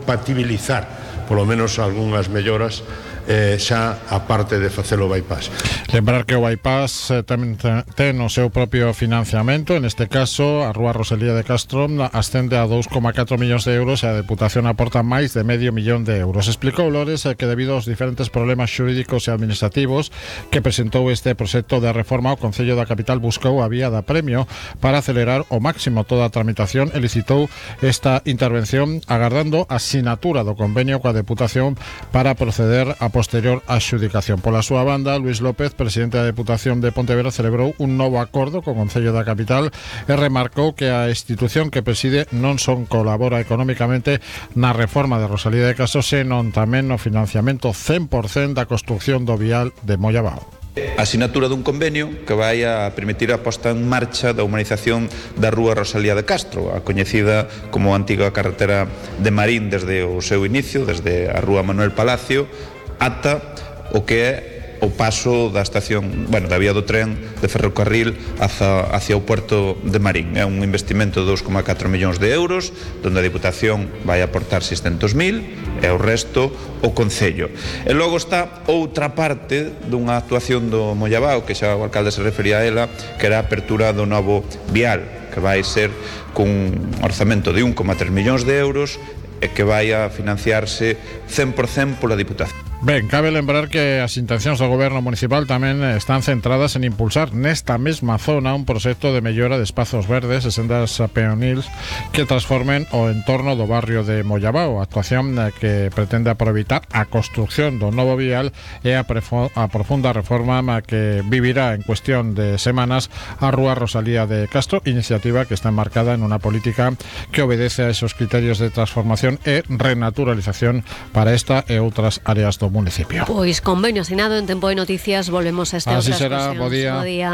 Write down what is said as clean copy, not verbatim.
compatibilizar polo menos algunhas melloras xa a parte de facer o bypass. Lembrar que o bypass tamén ten o seu propio financiamento. En este caso, a Rúa Rosalía de Castro ascende a 2,4 millóns de euros e a Deputación aporta máis de medio millón de euros. Explicou Lores que debido aos diferentes problemas xurídicos e administrativos que presentou este proxecto de reforma, o Concello da Capital buscou a vía da premio para acelerar ao máximo toda a tramitación e licitou esta intervención agardando a sinatura do convenio coa Deputación para proceder a posterior adxudicación. Pola súa banda, Luís López, presidente da Deputación de Pontevedra, celebrou un novo acordo co Concello da Capital e remarcou que a institución que preside non son colabora económicamente na reforma de Rosalía de Castro, senón tamén no financiamento 100% da construción do vial de Mollabao. A sinatura dun convenio que vai a permitir a posta en marcha da humanización da Rúa Rosalía de Castro, a coñecida como a antiga carretera de Marín desde o seu inicio, desde a Rúa Manuel Palacio ata o que é o paso da estación, da vía do tren de ferrocarril hacia o puerto de Marín. É un investimento de 2,4 millóns de euros, onde a Deputación vai aportar 600.000 e o resto o Concello. E logo está outra parte dunha actuación do Mollabao, que xa o alcalde se refería a ela, que era a apertura do novo vial, que vai ser cun orzamento de 1,3 millóns de euros e que vai a financiarse 100% pola Diputación. Ben, cabe lembrar que as intencións do goberno municipal tamén están centradas en impulsar nesta mesma zona un proxecto de mellora de espazos verdes e sendas peonils que transformen o entorno do barrio de Mollabao, actuación que pretende aproveitar a construcción do novo vial e a profunda reforma que vivirá en cuestión de semanas a Rúa Rosalía de Castro, iniciativa que está enmarcada en unha política que obedece a esos criterios de transformación e renaturalización para esta e outras áreas do municipio. Pois convenio asinado en Tempo de Noticias, volvemos a este Así outras será, cuestións. bo día. Bo día.